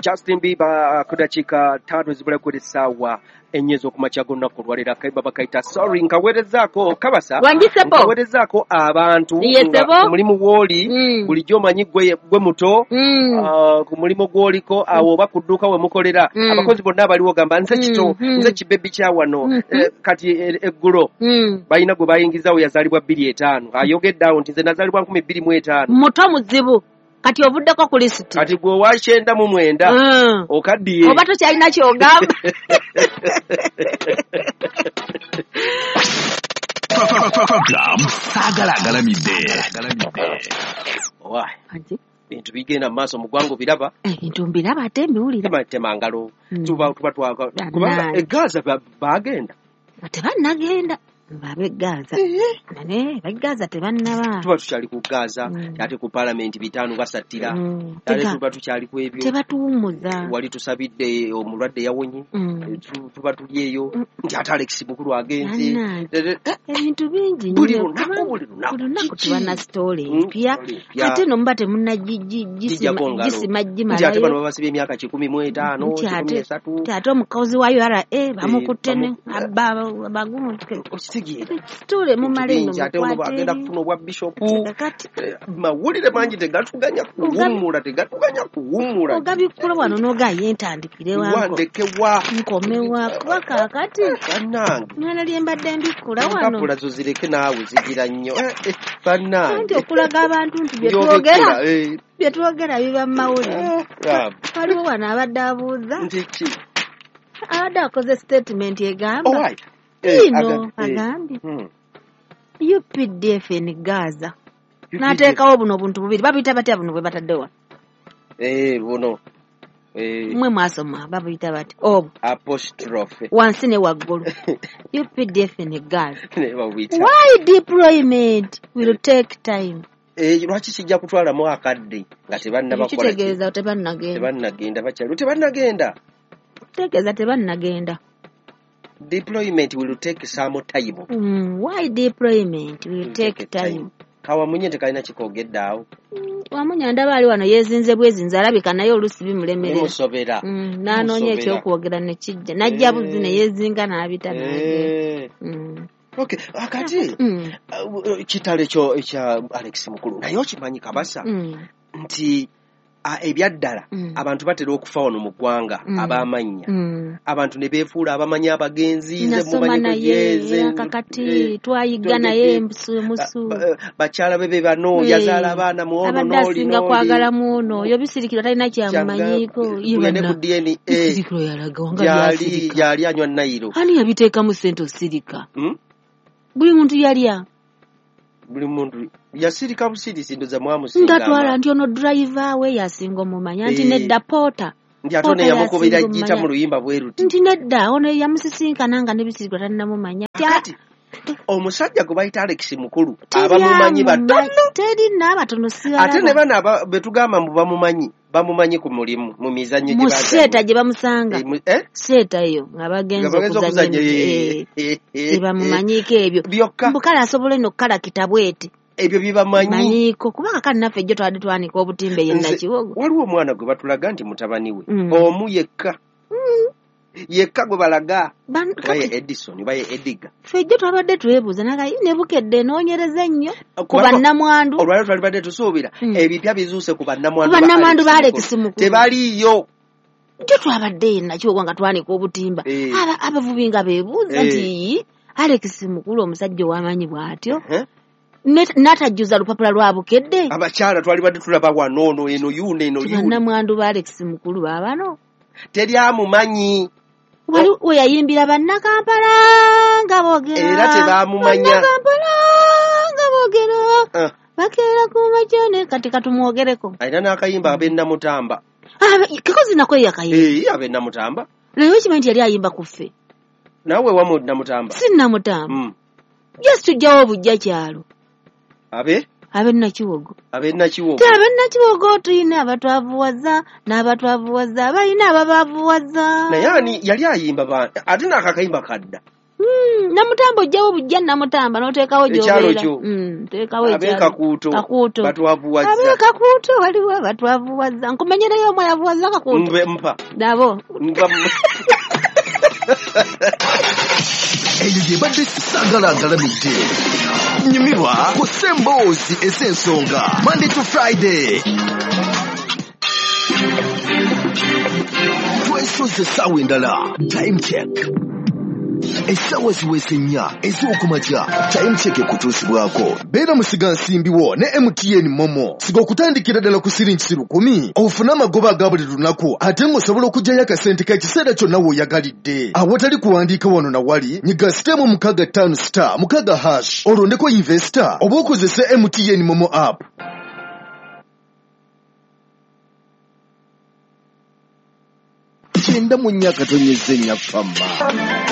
Justin Bieber ku dakiika 5 ezibula ku essaawa 4 ez'okumakya g'olunaku olwaleero akayimba bakayita Sorry. Nkaweerezaako Kabasa, nkaweerezaako abantu nga ku mulimu gw'oli bulijjo omanyi gwe muto ku mulimu gw'oliko awo oba ku dduuka we mukolera abakozi bonna abaliwo gamba nze kito nze kibebi kya wano. Kati eggulo balina gwe bayingizaawo yazaalibwa 2005 ayogedde awo nti nze nazaalibwa 2005 muto muzibu. Kati ovuddeko ku lisiti. Kati gwe owa 99 okaddiye. Oba tokyalina ky'ogamba. Program Saagala Agalamidde. Owa. Bintu bigenda mu maaso mu ggwanga obiraba. Ebintu mbiraba ate mbiwulira. Tema ngalo. Tuba twaka. Kubanga e Gaza bagenda. Tebannagenda. Babe Gaza. Nane Gaza tebannaba. Tuba tukyali ku Gaza, ate ku parliament 5 basattira. Ate tuba tukyali ku ebyo. Tebatuwummuza. Wali tusabidde omulwadde yawonye. Tuba tuli eyo. Nti ate Alex Mukulu agenze. Ebintu bingi nnyo. Buli lunaku tuba na story mpya. Ate no muba temunnaggisima Nti ate bano babasibye emyaka 15, 13. Nti ate omukozi wa URA bamukutte ne bagumu. Tule mumale no agenda kufuna obwa bishop. Mawulire mangi tegatuganya kuwummula. Ogabikula wano n'ogaye ntandikire wango. Wandekewa. Nkomewa kuba kaakati. Bannange. Mwana lye mbadde mbikula wano. Empapula zo zireke naawe zigira nnyo. Bannange. Anti okulaga abantu nti bye twogera. Bye twogera biba mu mawulire. Waliwo wano abadde abuuza. Nti ki? Abadde akoze statement egamba. Ino agambye UPDF in Gaza n'ateekawo buno obuntu bubiri babuyita batya buno bwe bataddewa buno mmwe mwasoma babuyita batya obwo apostrophe wansi ne waggulu UPDF in Gaza. Why deployment will take time? Lwaki kijja kutwalamu akadde nga tebannabakola kitegeeza tebannagenda bakyali tebannagenda kitegeeza tebannagenda. Deployment will take some time. Why deployment will take time? Kawamunye tekalina kikogedde awo. Wamunye ndaba ali wano yezinze bwezinze alabika naye oluusi bimulemerera. Bimusobera. N'anoonya ekyokwogera ne kijja. N'ajja buzi ne yezinga n'abita n'agenda. Okay, akati kitale kyo ekya Alex Mukulu naye okimanyi Kabasa nti ebyaddala abantu batera okufa wano mu ggwanga abamannya abantu ne beefuula abamanyi abagenzi nze mumanyi kuyeze kakati twayiga naye musu bakyala bebe bano yazaala abaana mu ono n'oli asinga kwagala mu ono oyo Bisirikiro talina kyamumanyiiko tugende ku DNA Bisirikiro yalaga wanga byasirika yali anywa nayiro ani yabiteekamu ssente osirika buli muntu yalya buli muntu yasirika busirisi ndoza mwamusinga ngatwala nti ono driver we yasinga omumanya nti nedda pota nti ate ono yamukubira gita mu luyimba bwe ruti nti nedda ono yamusisinkana nga ne Bisirikiro tannamumanya. Kati omusajja gwe bayita Alex Mukulu abamumanyi batono teri n'abatono sirala ate ne bano be tugamba mbu bamumanyi ku mulimu mu mizannyo gye bazannya mu seeta gye bamusanga seeta eyo nga bagenze okuzannya tebamumanyiiko ebyo mbu kale asobola eno okukalakita bweti ebyo bibamanyiiko kubanga kale naffe ejjo twabadde twanika obutimba eyo Nakiwogo. Waliwo omwana gwe batulaga nti mutabani we omu yekka yekka gwe balaga baye Edison baye Ediga ffe ejjo twabadde twebuuza naga ne Bukedde enoonyereza ennyo ku bannamwandu olwaleero twalibadde tusuubira ebipya bizuuse ku bannamwandu ba Alex Mukulu tebaliiyo. Jjo twabadde e Nakiwogo nga twanika obutimba abavubi nga beebuuza nti Alex Mukulu omusajja ow'amaanyi bw'atyo n'atajjuza lupapula lwa Bukedde. Abakyala twalibadde tulaba wano ono eno yuno eno yuno bannamwandu ba Alex Mukulu baabano teri amumanyi. Wali we yayimbira bannakampala nga boogera era tebamumanya bannakampala nga boogera bakeera ku makya ne kati katumwogereko alina n'akayimba ab'ennamutamba kikozi nako yakayimba ab'ennamutamba naye okimanyi nti yali ayimba ku ffe naawe wamu Namutamba si Namutamba just tujjawo obujja kyalo abe Nakiwogo abe tulina abatwavuwaza n'abatwavuwaza balina ababavuwaza naye ani yali ayimba ate n'akakayimba kadda Namutamba ojjawo bujja Namutamba n'oteekawo Ekyalo gy'obeera. kyo. Teekawo ekyalo. Ab'ekakuuto Kakuuto. batwavuwazza. Ab'ekakuuto waliwo abatwavuwazza. Nkumenyereyo omu ayavuwazza Kakuuto. Mpa. Nabo. Mpa. Eyo gyebadde Saagala Agalamidde. Nyumirwa ku Semboozi Ez'ensonga, Monday to Friday. Twesoze essaawa endala. Time check. Essaawa ziweze 4 ez'okumakya. Time check ekutuusibwako. Beera musigansimbi wo ne MTN Momo. Siga okutandikira ddala ku siringi 1,000. Ofune amagoba aga buli lunaku ate ng'osobola okuggyayo akasente k'ekiseera kyonna w'oyagalidde. Awatali kuwandiika wano na wali, nyiga *656 *6# olondeko investor oba okozese MTN Momo app. 94.4 Fama.